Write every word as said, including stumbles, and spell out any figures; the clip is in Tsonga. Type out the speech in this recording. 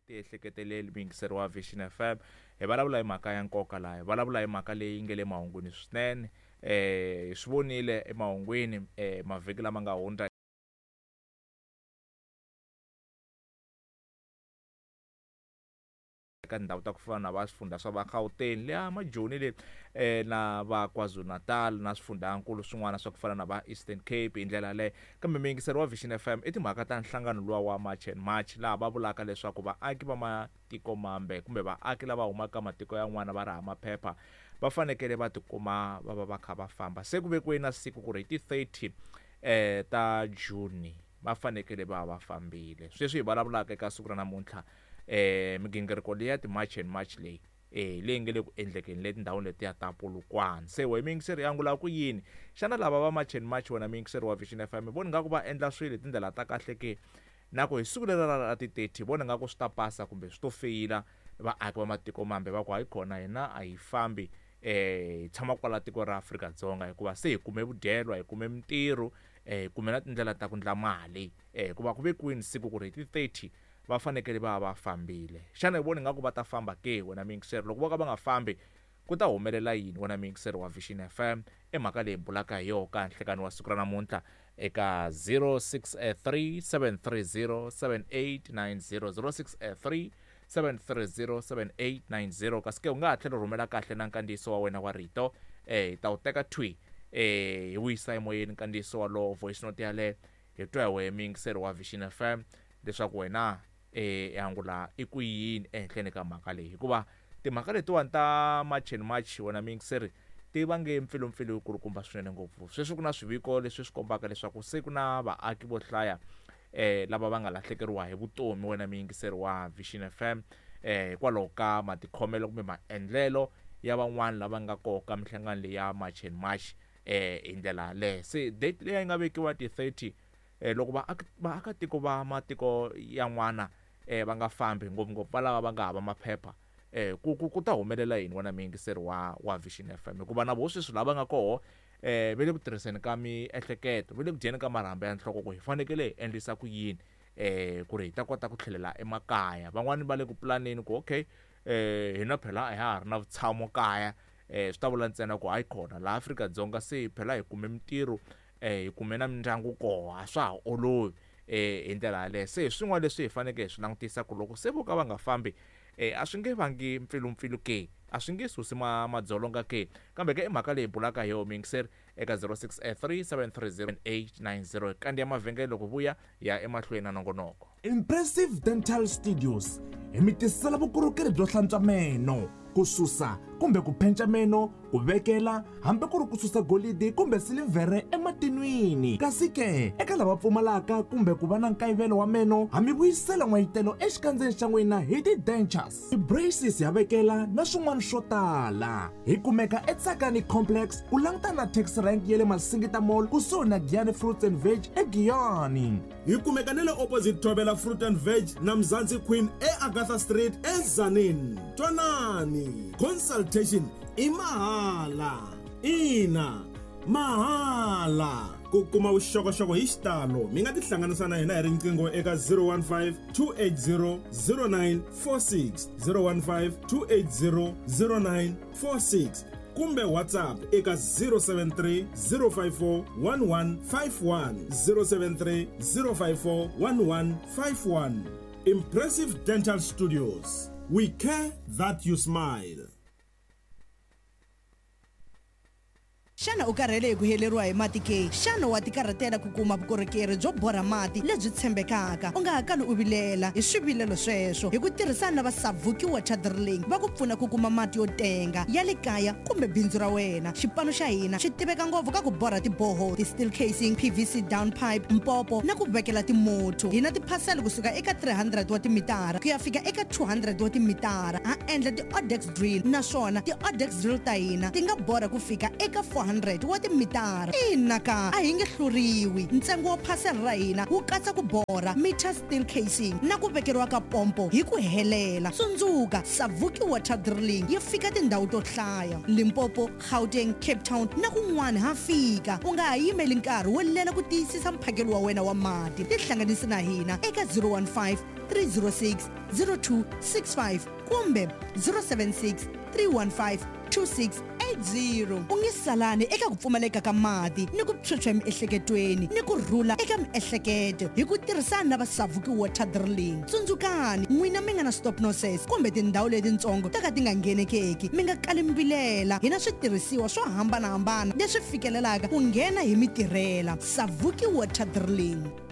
Tiehleketeleli muyingiseri wa Vision F M. Hi vulavula hi mhaka ya nkoka laha, hi vulavula hi mhaka leyi nge le mahungwini swinene. Eh hi swi vonile emahungwini eh mavhiki lama nga hundza eka tindhawu ta ku fana na va swifundza swa va Gauteng leya Majoni le eh na va KwaZulu-Natal na swifundzakulu swin'wana swa ku fana na va Eastern Cape hi ndlela yaleyo. Kambe muyingiseri wa Vision F M i timhaka ta nhlangano luwa wa March and March, laha va vulaka leswaku vaaki va matiko mambe kumbe vaaki lava humaka matiko yan'wana va ri hava maphepha va fanekele va tikuma va va va kha va famba. Se ku vekiwe na siku ku ri hi ti thirty eh ta June va fanekele va va fambile. Sweswi hi vulavulaka eka siku ra namuntlha eh migingiriko leyi ya ti-March and March leyi eh leyi nge le ku endlekeni le tindhawini letiya ta Polokwane. Se we muyingiseri ya angula ku yini? Xana lava va March and March wena muyingiseri wa Vision F M vona nga ku va endla swilo hi tindlela ta kahle ke? Na ku hi siku leri ra ti thirty vona nga ku swi ta pasa kumbe swi to feyila vaaki va matiko mambe va ku hayi khona hina a hi fambi eh hi tshama kwala tiko ra Afrika-Dzonga hikuva se hi kume vudyelwa, hi kume mintirho, eh hi kume na tindlela ta ku endla mali eh hikuva ku vekiwini siku ku ri hi ti thirty va fanekele va va fambile. Xana hi vona ingaku va ta famba ke wena muyingiseri? Loko vo ka va nga fambi ku ta humelela yini wena muyingiseri wa Vision F M? I mhaka leyi bulaka hi yona ka nhlekani wa siku ra namuntlha eka zero six three seven three zero seven eight nine zero, zero six three seven three zero seven eight nine zero. Kasi ke u nga ha tlhela u rhumela kahle na nkandziyiso wa wena wa rito eh hi ta wu teka thwi eh hi wu yisa emoyeni nkandziyiso walowo, voice note yaleyo hi twa hi wehe muyingiseri wa Vision F M leswaku wena eh angula i ku yini ehenhleni ka mhaka leyi, hikuva timhaka letiwani ta March and March wena muyingiseri ti vange mpfilumpfilu yikulukumba swinene ngopfu. Sweswi ku na swiviko leswi swi kombaka leswaku se ku na vaaki vo hlaya eh lava va nga lahlekeriwa hi vutomi wena muyingiseri wa Vision F M eh hikwalaho ka matikhomelo kumbe maendlelo ya van'wana lava nga koka minhlangano leyi ya March and March eh hi ndlela yaleyo. Se date leyi nga vekiwa ti thirty eh loko vaaki vaakatiko va matiko yan'wana eh va nga fambi ngopfungopfu va lava va nga hava maphepha eh ku ku ku ta humelela yini wena muyingiseri wa wa Vision F M? Hikuva na voho sweswi lava nga koho eh va le ku tirhiseni ka miehleketo, va le ku dyeni ka marhambu ya nhloko ku hi fanekele hi endlisa ku yini eh ku ri hi ta kota ku tlhelela emakaya. Van'wani va le ku pulaneni ku okay eh hina phela a ha ha ri na vutshamo kaya eh swi ta vula ntsena ku hayi khona laha Afrika-Dzonga se phela hi kume mintirho eh hi kume na mindyangu koho, a swa ha olovi eh hi ndlela yaleyo. Se hi swin'wana leswi hi fanekele hi swi langutisa ku loko se vo ka va nga fambi eh a swi nge vangi mpfilumpfilu ke, a swi nge susi ma madzolonga ke. Kambe ke i mhaka leyi bulaka hi yona muyingiseri eka zero six three seven three zero eight nine zero. Kandi ya mavhengele loko vuya ya emahlweni na nongonoko. Impressive Dental Studios hi mi tisela vukorhokeri byo hlantswa meno, ku susa kumbe ku phenca meno, ku vekela hambi ku ri ku susa golidi kumbe silivhere ematin'wini. Kasi ke eka lava pfumalaka kumbe ku va na nkayivelo wa meno, ha mi vuyisela n'wayitelo exikandzeni xa n'wina hi ti-dentures, ti-braces ya vekela na swin'wana swo tala. Hi kumeka eTsakani Complex ku langutana na taxi rank ya le Masingita Mall kusuhi na Giyani Fruits and Veg eGiyani. Hi kumeka na le opposite Thobela Fruit and Veg na Mzansi Queen eAgatha Street eTzaneen. Twanani, consultation i mahala. Ina, mahala. Ku kuma vuxokoxoko hi xitalo mi nga tihlanganisa na hina hi riqingho eka zero one five two eight zero zero nine four six, zero one five two eight zero zero nine four six kumbe WhatsApp eka zero seven three zero five four one one five one, zero seven three zero five four one one five one. Impressive Dental Studios, we care that you smile. Xana u karhele hi ku heleriwa hi mati ke? Xana wa tikarhatela ku kuma vukorhokeri byo borha mati lebyi tshembekaka? U nga ha kali u vilela hi swivilelo sweswo hi ku tirhisana na va Savuki Water Drilling va ku pfuna ku kuma mati yo tenga ya le kaya kumbe bindzu ra wena. Xipano xa hina xi tiveka ngopfu ka ku borha tiboho, ti-steel casing, P V C down pipe, mpopo na ku vekela timotho. Hi na tiphasela kusuka eka three hundred wa timitara ku ya fika eka two hundred wa timitara. Ha endla ti-Odex drill naswona ti-Odex drill ta hina ti nga borha ku fika eka four hundred wa timitara. Ina ka a hi nge hluriwi. Ntsengo wa phasela ra hina wu katsa ku borha meter steel casing na ku vekeriwa ka pompo hi ku helela. Tsundzuka, Savuki Water Drilling yi fika tindhawu to hlaya: Limpopo, Gauteng, Cape Town na kun'wana ha fika. U nga ha yimeli nkarhi wo lela ku tiyisisa mphakelo wa wena wa mati. Tihlanganisi na hina eka zero one five three zero six zero two six five kumbe zero seven six three one five two six eight zero. U nge salani eka ku pfumaleka ka mati ni ku phyuphya emiehleketweni ni ku rhula eka miehleketo hi ku tirhisana na va Savuki Water Drilling. Tsundzukani, n'wina mi nga na stop nonsense kumbe tindhawu letitsongo to ka ti nga nghenekeki, mi nga kali mi vilela. Hi na switirhisiwa swo hambanahambana leswi fikelelaka ku nghena hi mitirhela. Savuki Water Drilling.